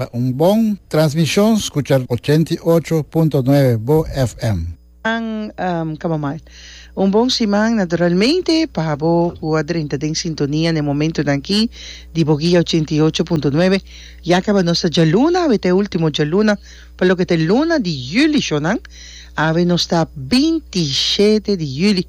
Pa un bon transmishon skucha 88.9 Bo FM. Kaba mal. Un bon siman naturalmente pa bo ku a drenta den sintonia na e momentonan aki di bo guia 88.9. Ya kaba nos ta djaluna, awe ta e ultimo djaluna pa loke ta e luna di juli shonan. Awe nos ta 27 di juli.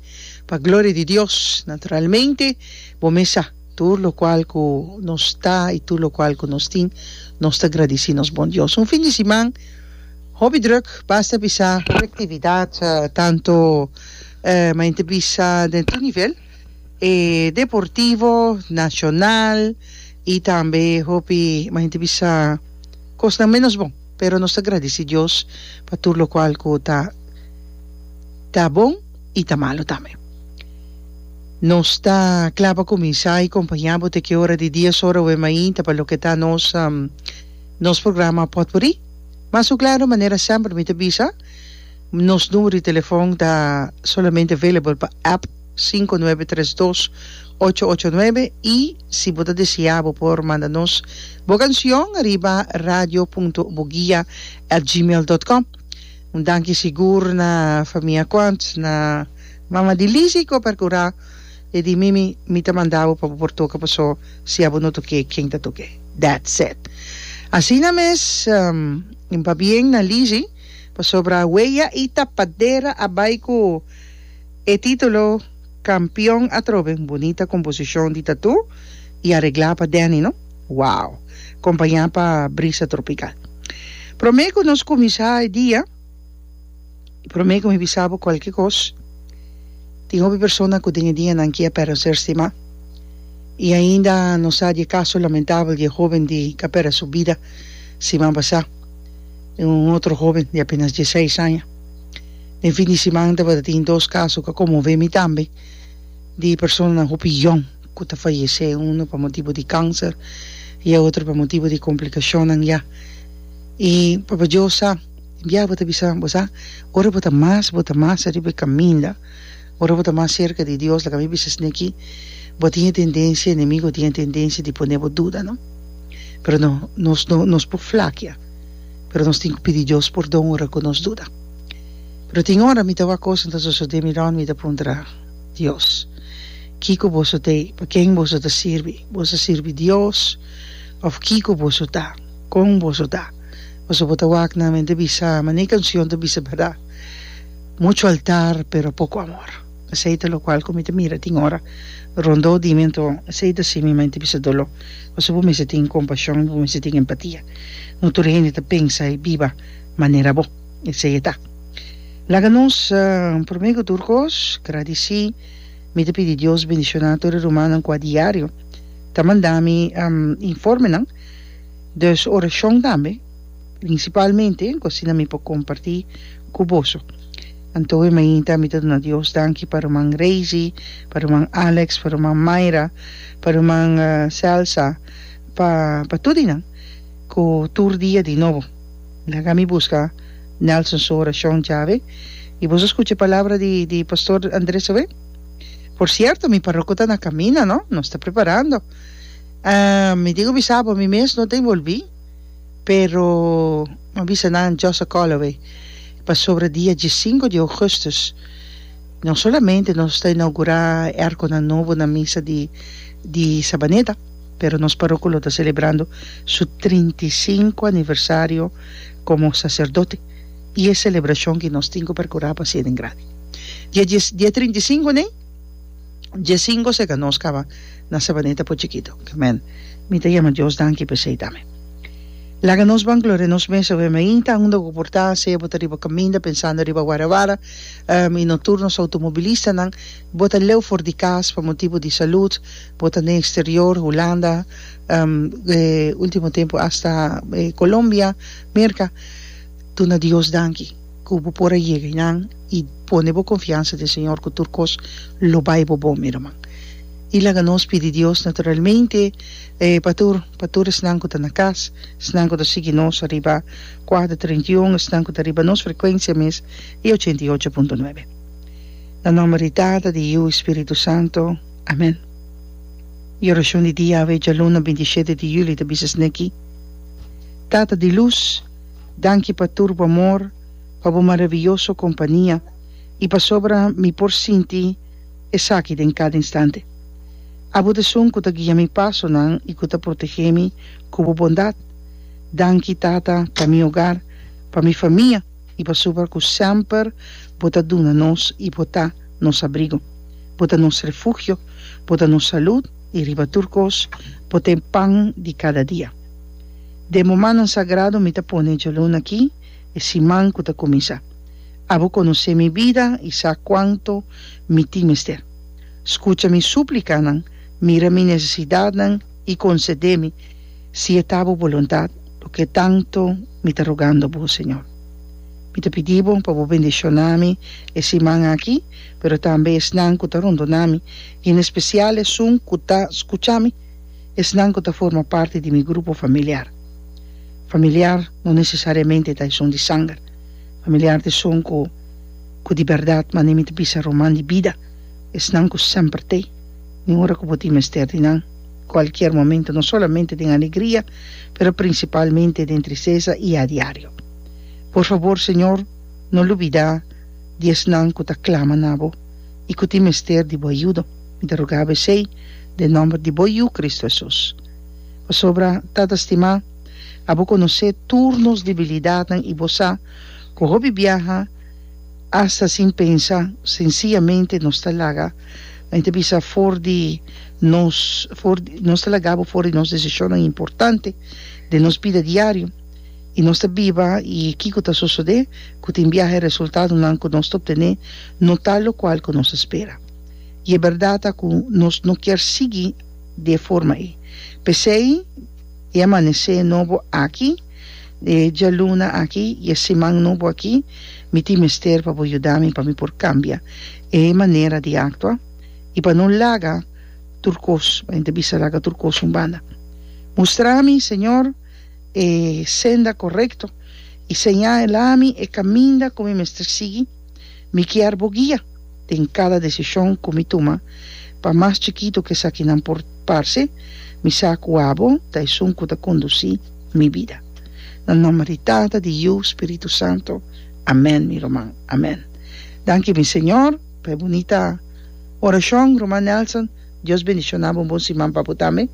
Pa gloria di Dios naturalmente bo mes sa. Tur locual cu nos ta y tur locual cu nos tin, nos ta gradici nos bon Dios. Un fin di siman hopi druk, basta bisa hopi actividad, tanto maente bisa den tur nivel, e deportivo, nacional y tambe hopi maente bisa cosnan menos bon, pero nos ta gradici Dios pa tur locual cu ta ta bon y ta malo tambe. Nos ta kla pa kuminsá i kompañá bo te ki ora di dies ora oe mainta pa loke ta nos nos programa Potpourri. Mas ku klaro, manera semper mi ta bisa, nos numero di telefòn ta solamente available pa app 5932 889 i si bo ta deseá bo por manda nos bo kansion riba radio punto boguia at gmail dot com. Un danki sigur na famia Quant, na Mama di Lizzy ku a perkurá e di Mimi, mi ta manda bo pa bo por toka paso si abo no tok'é ken ta tok'é. That's it. Asina mes un pabien na Lizzy pasobra Weya i Tapadera a bai ku e titulo kampion atrobe. Un bunita komposishon di Tatú i areglá pa Danny no. Wow! Kompañá pa Brisa Tropical. Promé ku nos kuminsá e dia. I promé ku mi bisa bo kualke kos, tin hopi persona ku den e dianan aki a pèrdè un ser stimá. I ainda nos sa di e kaso lamentabel di e hóben di ku a pèrdè su bida siman pasá, un otro hóben di apenas dieseis aña. Den fin di siman tabata tin dos kaso ku a konmové mi tambe di personanan hopi yòn ku ta fayesé, unu pa motibu di kanser i e otro pa motibu di komplikashonnan ya. I Papa Dios sa. Tin bia bo ta bisa, bo sa, ora bo ta mas, bo ta mas ariba e kaminda, ora bo ta mas serka di Dios, laga mi bisa esne aki, bo tin e tendensia, enemigo tin e tendensia di pone bo duda, no? Pero no, nos no, nos por flakia, pero nos tin ku pidi Dios pordon ora ku nos duda. Pero tin ora mi ta wak kosnan ta sosodé mi rònt, mi ta puntra Dios, Kiko boso ta ei? Pa ken boso ta sirbi? Boso ta sirbi Dios òf kiko boso ta? Kon boso ta? Pasobra bo ta wak nan mente bisa, manera e canción ta bisa berdad, mucho altar pero poco amor. Esey ta locual cu mi ta mira tin ora rondó di mi, anto esey ta haci mi mente bisa doló. Pasobra bo mester tin compasion, bo mester tin empatia. No tur hende ta pensa y biba manera bo. Esey e ta. Laga nos, prome cu tur cos, gradici. Mi ta pidi Dios bendiciona tur e rumannan cu a diario ta manda mi informenan. Dus orashon tambe, prinsipalmente ku asina mi por kompartí ku boso. Anto e mainta mi ta duna Dios danki pa ruman Reisy, pa ruman Alex, pa ruman Mayra, pa ruman Celsa, pa pa tur di nan ku tur dia di nobo laga mi buska Nelson su orashon djawe. I boso skucha e palabra di di pastor Andres awe? Por sierto mi paroko ta na kaminda no, nos ta preparando. Mi tin ku bisa bo mi mes no ta envolví, pero mi a bisa nan just a call away, pasobra dia diesinco di augustus no solamente nos ta inaugurá e arconan nobo na misa di di Sabaneta, pero nos paroko lo ta celebrando su 35 aniversario como sacerdote y e celebracion ki nos tin ku percurá pa hacié den grandi. Dia dies dia 35 nei. Diesinco seka nos kaba na Sabaneta por chikito. Amen. Mi ta yama Dios danki pa esei tambe. Laga nos ban gloria nos mes awe mainta unda ku por ta, sea bo ta riba kaminda pensando riba Guaravara, i no tur nos automobilistanan, bo ta leu for di kas pa motibu di salud, bo ta den exterior, Hulanda, e ultimo tempu hasta Colombia, Merka, duna Dios danki. Ku bo por a yega einan i pone bo konfiansa den Señor ku tur kos lo bai bo bon, mi ruman. I laga nos pidi Dios naturalmente pa tur, pa tur esnan ku ta na kas, esnan ku ta sigui nos ariba kuater 31, esnan ku ta riba nos frekuensia mes di 88.9. Na nòmber di Tata, di Yu i Spiritu Santo. Amen. E orashon di dia awe djaluna 27 di yüli ta bisa esneki. Tata di lus, danki pa tur bo amor, pa bo maraviyoso kompania i pasobra mi por sinti esaki den kada instante. Abo ta esun ku ta guia mi pasonan i ku ta protegé mi ku bo bondat. Danki, Tata, pa mi hogar, pa mi famia i pasobra ku semper bo ta duna nos i bo ta nos abrigo. Bo ta nos refugio, bo ta nos salud i riba tur kos bo ta e pan di kada dia. Den bo mannan sagrado mi ta pone djaluna aki, e siman ku ta kuminsá. Abo konosé mi bida i sa kuantu mi tin mester. Skucha mi súplikanan, mira mi nesesidatnan i konsedé mi, si e ta bo boluntat, loke tantu mi ta rogando bo, Señor. Mi ta pidi bo pa bo bendishoná mi e siman aki, pero tambe esnan ku ta rondoná mi, i en espesial esun ku ta skucha mi, esnan ku ta forma parti di mi grupo familiar. Familiar no nesesariamente ta esun di sanger. Familiar ta esun ku ku di bèrdat manera mi ta bisa ruman di bida, esnan ku semper t'ei, ni ora ku bo tin mester di nan, kualkier momento, no solamente den alegria, pero prinsipalmente den tristesa i a diario. Por fabor, Señor, no lubidá di esnan ku ta klama na bo i ku tin mester di bo ayudo. Mi ta roga bo esei den nòmber di bo Yu, Kristu Hesus. Pasobra, Tata stimá, abo konosé tur nos debilidatnan i bo sa ku hopi biaha, asta sin pensa, sensiyamente nos ta laga, mi ta bisa for di nos, for di, nos ta laga bo for di nos desishonnan importante den nos bida diario, i nos ta biba i kiko ta sosodé? Ku tin biaha e resultadonan ku nos ta optené no ta lokual ku nos a spera. I e bèrdat ta ku nos no kier sigui di e forma ei. P'esei e amanesé nobo aki, e djaluna aki i e siman nobo aki, mi tin mester pa bo yuda mi pa mi por kambia e manera di aktua i pa no laga tur kos, pa hende bisa laga tur kos un banda. Mustra mi, Señor, e senda korekto i señala mi e kaminda ku mi mester sigui. Mi kier bo guia den kada desishon ku mi tuma, pa mas chikitu ku esakinan por parse, mi sa ku abo ta esun ku ta kondusí mi bida. Na nòmber di Tata, di Yu, Spiritu Santu. Amèn, mi ruman. Amèn. Danki mi Señor pa e bunita orashon, ruman Nelson. Dios bendishoná bo un bon siman pa bo tambe.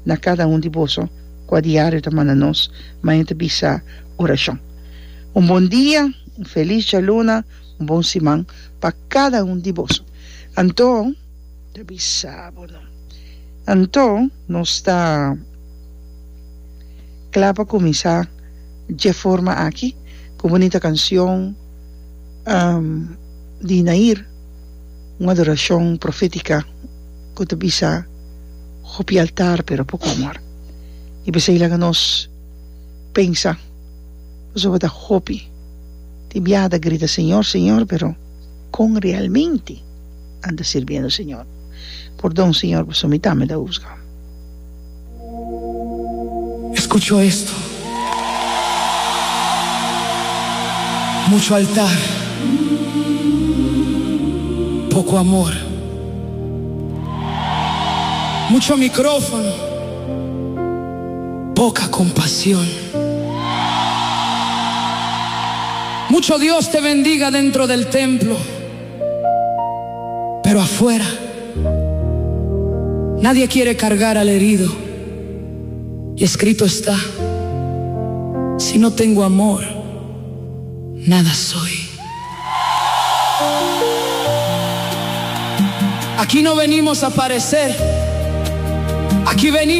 Na kada un di boso ku a diario ta manda nos maña ta bisa orashon. Un bon dia, un felis djaluna, un bon siman pa kada un di boso. Anto, ta bisa bo no. Anto nos ta kla pa kuminsá dje forma aki ku un bunita kanshon di Nair, un adorashon profétika ku ta bisa hopi altar pero poko amor. I p'esei laga nos pensa pasobra ta hopi tin biaha ta grita Señor, Señor pero con realmente nan ta sirbiendo Señor? Pordon Señor pasobra mi tambe ta husga. Escucho esto. Mucho altar, poco amor. Mucho microfono, poca compasión. Mucho Dios te bendiga dentro del templo, pero afuera nadie quiere cargar al herido. Y escrito está, si no tengo amor, nada soy. Aquí no venimos a parecer, aquí venimos.